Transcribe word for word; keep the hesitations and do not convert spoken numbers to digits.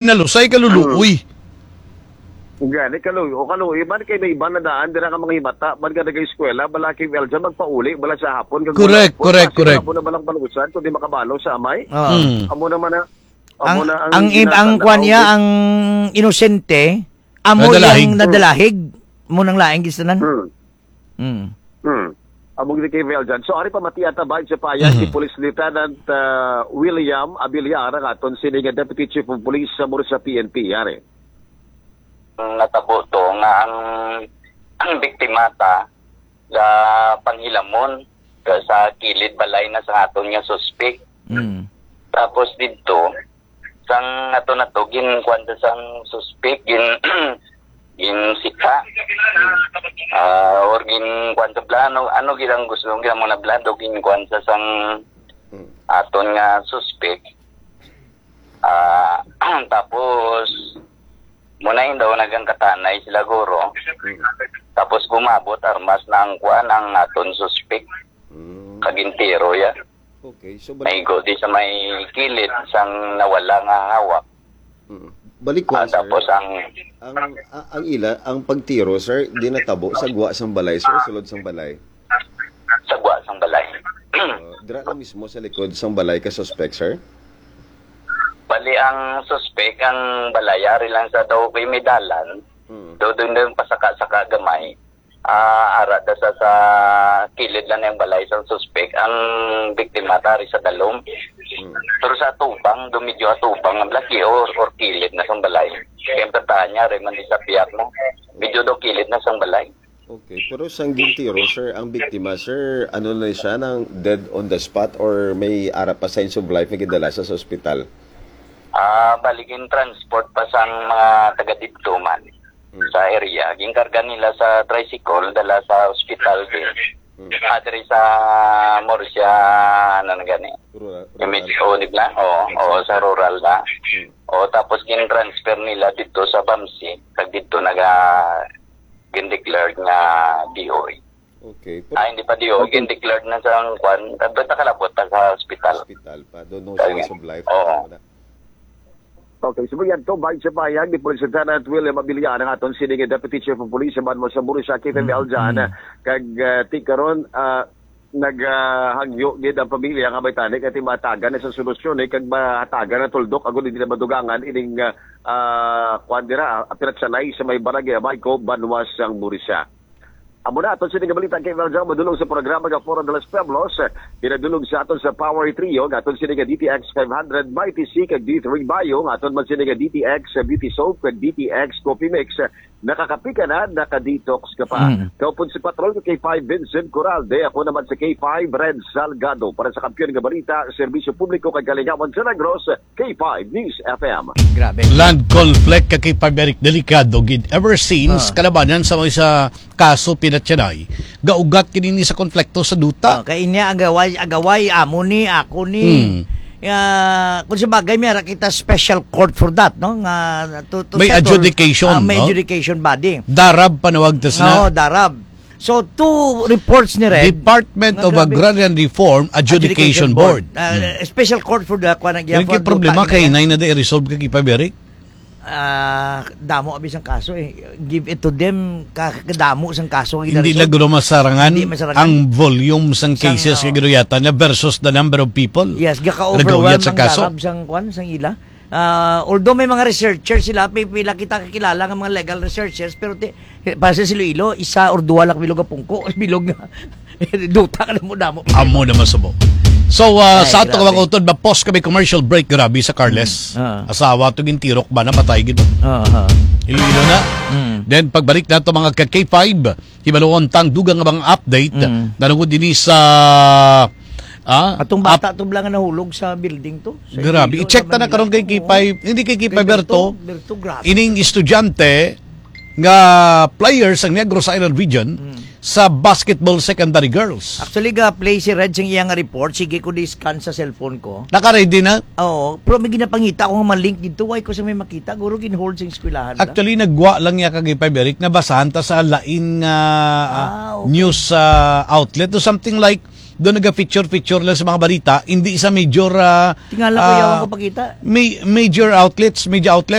Nalusay, kaluluoy. Gani, kaluoy, o kaluoy, man kay may iban na daan, dira nga mga himata, man nga nag-eskwela, bala kay Eljan, magpauli, bala sa hapon, kag Correct, wala po, correct, kasi correct. Amo na balang balusan, kundi makabalo sa amay. Oo. Mm. Amo naman na, amo Ang, na ang ang im-, ang ginatanaw kwan niya, ko. Ang inosente, amo Nadalahig. Yang nadalahig, mo nang laing gistanan. Hmm. Mm. Hmm. Among ni kay Eljan. So, ari pa mati ata ba sa payag Mhm. si Police Lieutenant, ah, William Abiliar, ang aton sini nga Deputy Chief of Police sa Murcia P N P, ari. Natabo to nga ang, ang biktima ta ga panghilamon ga sa kilid balay na sa aton nga suspek. Mm. Tapos didto, sang ato na to, ginkuan sa sang suspek, gin-, ginsita. Ah, or ginkuan sa plano, ano gid ang gusto, ang ginamo na plano, ginkuan sa sang Mm. aton nga suspek. Ah, tapos, muna yun daw, nagangkatanay sila, guro. Mm. Tapos, gumabot, armas na ang kuan, ang aton suspek. Mm. Kagintiro, ya. Okay, so balik Naigo di sa may kilid, sang nawala nga hawak. Mm. Balik Ah, kuan, sir. Tapos ang Ang, a-, ang ila, ang pagtiro, sir, di natabo sa gwa sang balay, sir, sulod sang balay? Sa gwa sang balay. Uh, dira na mismo sa likod sang balay ka suspect, sir? Bali, ang suspek, ang balay, ari lang sa daw kay may dalan. Hmm. Do, doon, doon, pasaka-saka gamay. Ah, ara da sa, sa kilid lang ng balay sang suspek. Ang biktima, tari sa dalom. Hmm. Pero sa atubang, do medyo atubang ang laki or, or kilid na sang balay. Kaya ang patahan niya, rin man di sa biyak mo. Medyo do kilid na sang balay. Okay, pero sang gintiro, sir, ang biktima, sir, ano na siya, nang dead on the spot or may ara pa signs of life nga gidala sa, sa ospital? Ah, bali, gin-transport pa sang mga taga didto man Hmm. sa area. Ginkarga nila sa tricycle, dala sa ospital din. Hmm. Ah, diri sa Murcia, ano na gani? Rural, Yung rural. medyo, di ba? Oo, Yes, oo, sir. sa rural na. Hmm. O, tapos gin-transfer nila dito sa Bamsi. Kag dito naga-, gin-declared nga D O A. Okay. Pero Ah, hindi pa D O A, ang gin-declared na sa kwan. Basta kalabot na sa hospital. Hospital pa. Don't know Kaya, signs of life. Oo. Wala. Okay, so yan to, bahin sa pahayag ni Police Lieutenant William Abiliar, ang aton sini nga Deputy Chief of Police sa Banwa sa Murcia, K F M Mm, Eljan. mm. Kag, ah, ti karon, ah, naghangyo gid ang pamilya nga may tani kay matagan na sa solusyon, eh, kag mahatagan ang tuldok agud hindi na madugangan ining, ah, ah, kwan dira, ah, pinatsanay sa may barangay Abayco, Banwa sang Murcia. Amo na aton sini nga balita kay Valjean madulong sa programa nga Foro de los Pueblos. Pinadulong sa aton sa Power Trio nga aton sini nga D T X five hundred, Mighty C kag D three Bio, nga aton man sini nga D T X Beauty Soap kag D T X Coffee Mix. Nakakapi ka na, naka-detox ka pa. Mm. Kaupod si Patrol ka K five Vincent Coralde, ako naman sa K five Red Salgado. Para sa Kampiyon nga Balita, Serbisyo Publiko kag Kalingawan sa Negros, K five News F M. Grabe. Land conflict ka K five Eric, delikado gid. Ever since, Ah. kalabanan sa mga sa kaso pinatyanay, gaugat kini ni sa konflikto sa duta. Oh, kay inya agaway, agaway, amo ni, ako ni. Hmm. Ah, kung sa bagay, may ara kita special court for that, no? Nga, to, to May settle, adjudication, ah, may no? adjudication body. Darab panawag tas na. Oo, darab. So, two reports ni Red. Department Nga of grabe. Agrarian Reform Adjudication Adjudication Board. Board. Ah, Hmm. special court for the, kuwan, ang Yung for problema duta, kay inay na di resolve ka, Kipa Beric? Ah, damo abi sang kaso eh. Give it to them, ka-, kadamo sang kaso ang Hindi ina-resolve. lang guro masarangan Hindi masarangan. ang volume sang Sang, cases oh. nga ginuyatan na versus the number of people. Yes, gaka-overwhelm Nag-uyat sa ang kaso. darab sang, kuwan, sang ila. Ah, although may mga researchers sila, pi-, pila kita kakilala nga mga legal researchers, pero ti-, para sa Iloilo, isa or duha lang bilog ang pungko, bilog nga. Duta ka na mo damo. Amo na masubo. So, ah, Ay, sa ato grabe. Kawang utod, mapos kami commercial break, grabe sa Carles. Mm, ah. Asawa to gintirok ba, napatay gid ba? Ah, ah. Iloilo na. Mm. Then, pagbalik na to, mga ka K five, hibaluon tang dugang nga mga update. Mm. Nanungod din sa, ah, Atong bata up- to bala nga nahulog sa building to. Sa Grabe. Iloilo, I-check sa ta na Manila. karon kay Oo. K five. Hindi kay K five Kay Berto. Berto, Berto, grabe. Ining estudyante nga player sa Negros Island Region Mm. sa basketball secondary girls. Actually, ga-play si Red sing iya nga report. Sige ko di-scan sa cellphone ko. Naka-ready na? Oo. Pero may ginapangita ko nga mga link dito. Why ko sa may makita? Guro gin-hold sa eskwelahan na. Actually, nagwa lang niya kag K five Eric. Nabasahan ta sa lain nga, ah, Ah, okay. news, ah, outlet o something like doon naga-feature-feature lang sa mga balita, hindi sa major, ah, Tingala ko, ah, yawan ko pakita. may, major outlets, media outlets.